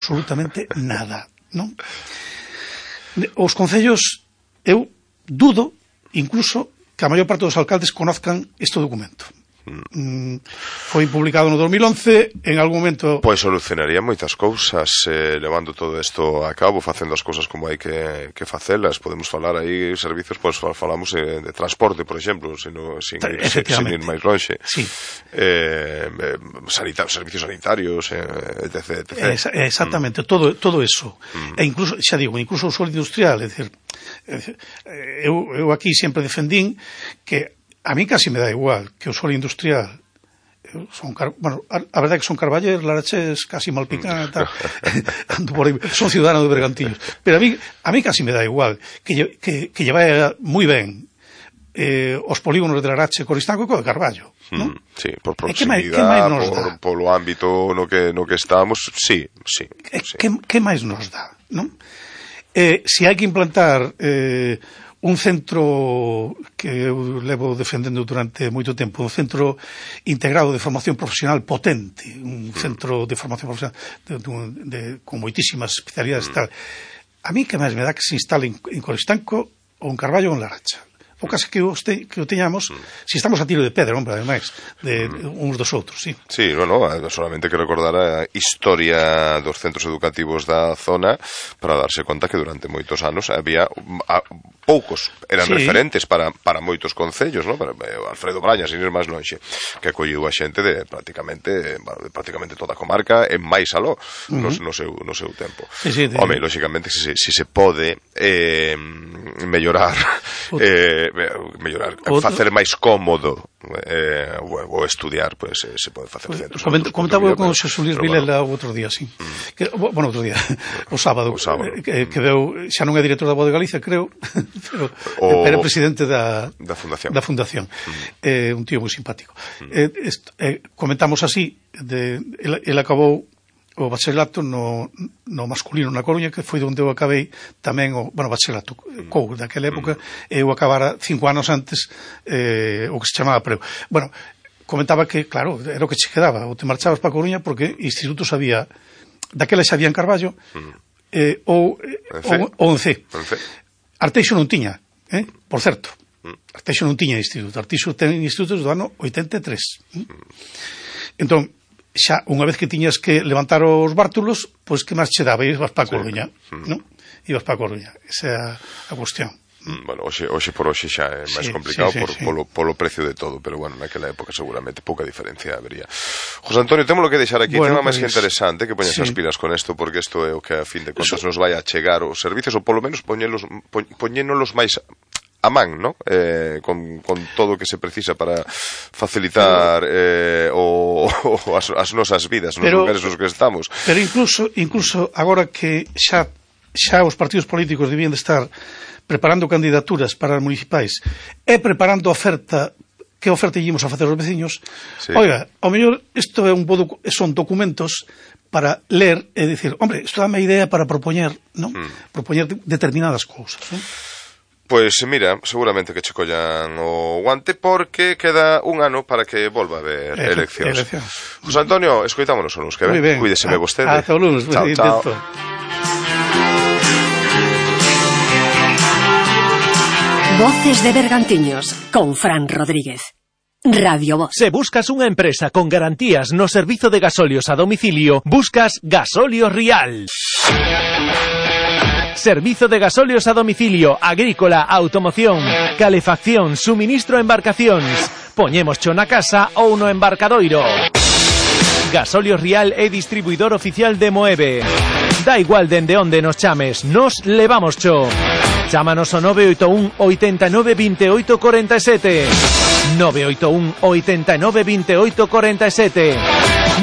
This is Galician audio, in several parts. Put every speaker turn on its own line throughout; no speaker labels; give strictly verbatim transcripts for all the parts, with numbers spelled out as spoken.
absolutamente nada, non? Os concellos, eu dudo, incluso, que a maior parte dos alcaldes conozcan este documento. Mm, foi publicado no dos mil once, en algún momento...
Pois solucionaría moitas cousas, eh, levando todo isto a cabo, facendo as cousas como hai que, que facelas. Podemos falar aí servicios, pois falamos de, de transporte, por exemplo, sino, sin, ir, sin ir máis lonxe.
Sí.
Eh, sanita, servicios sanitarios, eh, etc, etcétera.
Es, exactamente, mm. todo, todo eso. Mm. E incluso, xa digo, incluso o suelo industrial, é dicir, eu, eu aquí sempre defendín que a mí casi me da igual que o suelo industrial son, bueno, a, a verdade é que son Carballeres, Laraches, casi Malpicán, tal, ando por aí, son ciudadano de Bergantiños, pero a mí, a mí casi me da igual que, que, que lleva moi ben eh, os polígonos de Larache, Coristanco e co de Carballo, non?
Sí, por proximidade, por, polo ámbito no que, no que estamos, sí, sí. sí.
Que, que máis nos dá, non? Eh, se hai que implantar eh, un centro que eu levo defendendo durante moito tempo, un centro integrado de formación profesional potente, un centro de formación profesional de, de, de, con moitísimas especialidades e tal. A mí que máis me dá que se instale en, en Coristanco ou en Carballo ou en Laracha. O caso que o, este, que o teñamos, si estamos a tiro de pedra, hombre, ademais, de, de uns dos outros, sí.
Sí, bueno, solamente que recordar a historia dos centros educativos da zona para darse conta que durante moitos anos había a, poucos, eran sí. referentes para, para moitos concellos, ¿no? Para, eh, Alfredo Brañas, sin ir máis lonxe, que acolliu a xente de prácticamente, bueno, de prácticamente toda a comarca en máis aló, uh -huh. no, no, seu, no seu tempo. Sí, sí, de... Home, lógicamente, se, si se pode eh, mellorar eh, mellorar, facer máis cómodo eh, o, o estudiar, pues eh, se pode facer centros.
Coment, comentaba eu con Xosé Luis Vilela o outro día, sí. Mm. Que, bueno, outro día, o sábado,
o sábado.
Que, que veu, xa non é director da Voz de Galicia, creo, pero o, era presidente da,
da Fundación.
Da fundación. Mm. Eh, un tío moi simpático. Mm. Eh, est, eh, comentamos así, de, el, el acabou o bacharelato no, no masculino na Coruña, que foi onde eu acabei tamén o, bueno, bacharelato cou daquela época, mm. eu acabara cinco anos antes eh, o que se chamaba preu. Bueno, comentaba que, claro, era o que che quedaba, ou te marchabas para a Coruña porque institutos había, daquela xa había en Carballo, mm. eh, ou, ou, ou en C. Arteixo non tiña, eh? Por certo, mm. Arteixo non tiña instituto, Arteixo ten institutos do ano oitenta e tres. Mm. Entón, xa, unha vez que tiñas que levantar os bártulos, pois que máis che daba? Ibas para a Coruña, sí. mm. non? Ibas para a Coruña, esa é a, a cuestión.
Mm, bueno, hoxe, hoxe por hoxe xa é máis sí, complicado sí, sí, por, sí. Polo, polo precio de todo, pero bueno, naquela época seguramente pouca diferencia habería. José Antonio, temos lo que deixar aquí, bueno, tema máis pues, que interesante, que poñas sí. as pilas con isto, porque isto é o que a fin de contas Eso... nos vai a chegar os servicios, ou polo menos poñelos, poñénolos máis a man, ¿no? Eh, con, con todo o que se precisa para facilitar eh, o, o as, as nosas vidas nos pero, lugares nos que estamos.
Pero incluso incluso agora que xa xa os partidos políticos debían de estar preparando candidaturas para as municipais e preparando a oferta, que oferta íamos a facer aos veciños, sí. Oiga, ao mellor isto é un bo docu- son documentos para ler e dicir, hombre, isto dame idea para propoñer, ¿no? Mm. Propoñer de, determinadas cousas, ¿no?
Pois mira, seguramente que che collan o guante porque queda un ano para que volva a haber Ele eleccións. eleccións. José Antonio, escoitámonos o lunes que ven. Cuídeseme vostede.
Ata o lunes.
Chao, chao.
Voces de Bergantiños con Fran Rodríguez. Radio Voz.
Se buscas unha empresa con garantías no servizo de gasolios a domicilio, buscas Gasóleo Rial. Servizo de gasóleos a domicilio, agrícola, automoción, calefacción, suministro a embarcacións. Poñémoscho na casa ou no embarcadoiro. Gasóleo Rial é distribuidor oficial de Moeve. Da igual dende onde nos chames, nos levamoscho. Chámanos ao nove oito un oitenta e nove vinte e oito corenta e sete. nove oito un oitenta e nove vinte e oito corenta e sete.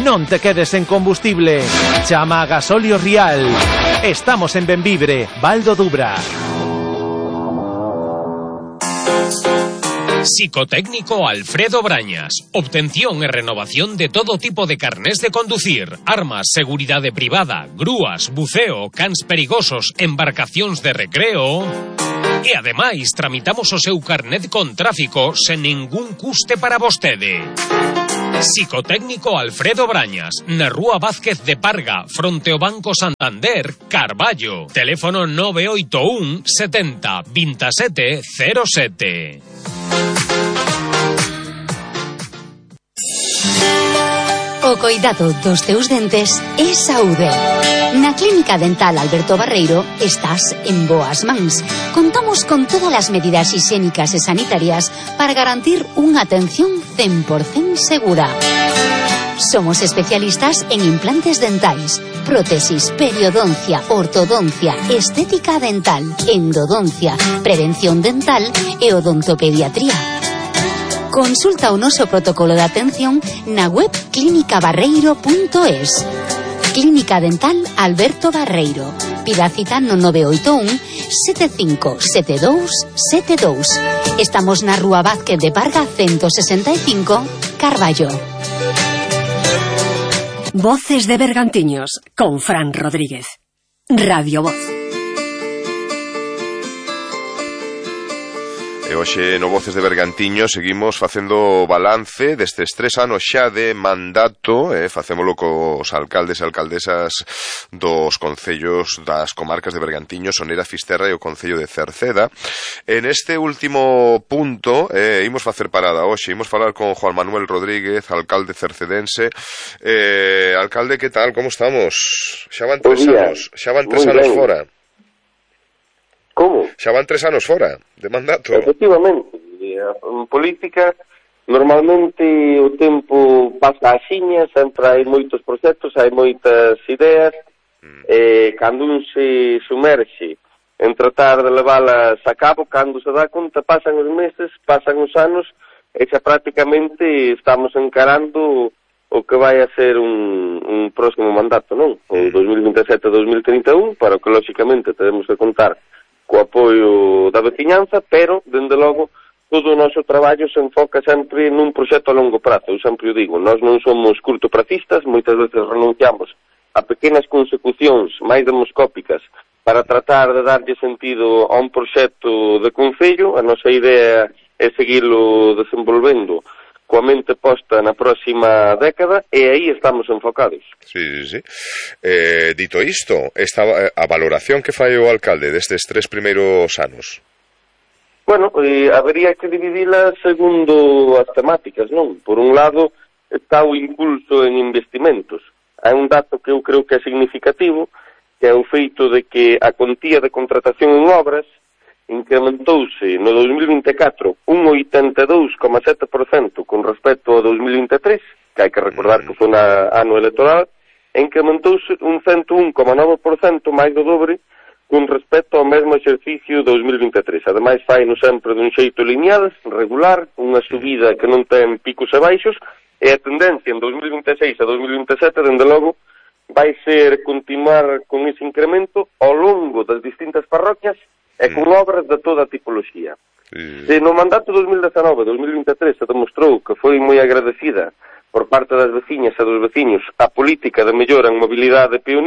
Non te quedes en combustible. Chama a Gasóleo Rial. Estamos en Benvibre, Val do Dubra.
Psicotécnico Alfredo Brañas. Obtención e renovación de todo tipo de carnés de conducir, armas, seguridade privada, grúas, buceo, cans perigosos, embarcacións de recreo. E ademais tramitamos o seu carnet con tráfico sen ningún custe para vostede. Psicotécnico Alfredo Brañas, na Rúa Vázquez de Parga, fronte ao Banco Santander, Carballo. Teléfono nove oito un setenta veintisiete cero sete.
O coidado dos teus dentes é saúde. Na Clínica Dental Alberto Barreiro estás en boas mans. Contamos con todas as medidas higiénicas e sanitarias para garantir unha atención cen por cento segura. Somos especialistas en implantes dentais, prótesis, periodoncia, ortodoncia, estética dental, endodoncia, prevención dental e odontopediatría. Consulta o noso protocolo de atención na web clínica barreiro punto es. Clínica Dental Alberto Barreiro. Pida cita no nove oito un sete cinco sete dous sete dous. Estamos na Rúa Vázquez de Parga ciento sesenta e cinco, Carballo.
Voces de Bergantiños con Fran Rodríguez. Radio Voz.
E hoxe no Voces de Bergantiño seguimos facendo balance destes tres anos xa de mandato, eh, facémolo cos alcaldes e alcaldesas dos concellos das comarcas de Bergantiño, Sonera, Fisterra e o concello de Cerceda. En este último punto, eh, imos facer parada hoxe, imos falar con Juan Manuel Rodríguez, alcalde cercedense. Eh, alcalde, que tal, como estamos? Xa van tres anos, xa van tres anos fora.
Como?
Xa van tres anos fora de mandato.
Efectivamente, en política normalmente o tempo pasa axiña, sempre hai moitos proxectos, hai moitas ideas, mm. e cando un se sumerxe en tratar de leválas a cabo, cando se dá conta, pasan os meses, pasan os anos, e xa prácticamente estamos encarando o que vai a ser un, un próximo mandato, non? O dos mil vinte e sete a dos mil trinta e un, para o que lóxicamente teremos que contar co apoio da veciñanza, pero, dende logo, todo o noso traballo se enfoca sempre nun proxecto a longo prazo. Eu sempre o digo, nós non somos curtopracistas, moitas veces renunciamos a pequenas consecucións máis demoscópicas para tratar de darlle sentido a un proxecto de concello. A nosa idea é seguirlo desenvolvendo coa mente posta na próxima década, e aí estamos enfocados.
Sí, sí, sí. Eh, dito isto, esta, a valoración que fai o alcalde destes tres primeiros anos?
Bueno, eh, habería que dividila segundo as temáticas, non? Por un lado, está o impulso en investimentos. Hai un dato que eu creo que é significativo, que é o feito de que a contía de contratación en obras incrementouse no dos mil vinte e catro un oitenta e dous coma sete por cento con respecto ao dos mil vinte e tres, que hai que recordar que foi un ano electoral, e incrementouse un cento un coma nove por cento máis do dobre con respecto ao mesmo exercicio dos mil vinte e tres. Ademais, faino sempre dun xeito lineal, regular, unha subida que non ten picos e baixos, e a tendencia en dos mil vinte e seis a dos mil vinte e sete, dende logo, vai ser continuar con ese incremento ao longo das distintas parroquias e con obras de toda a tipoloxía.
Sí.
Se no mandato dos mil dezenove a dos mil vinte e tres se demostrou que foi moi agradecida por parte das veciñas e dos veciños a política de mellora en mobilidade pionera,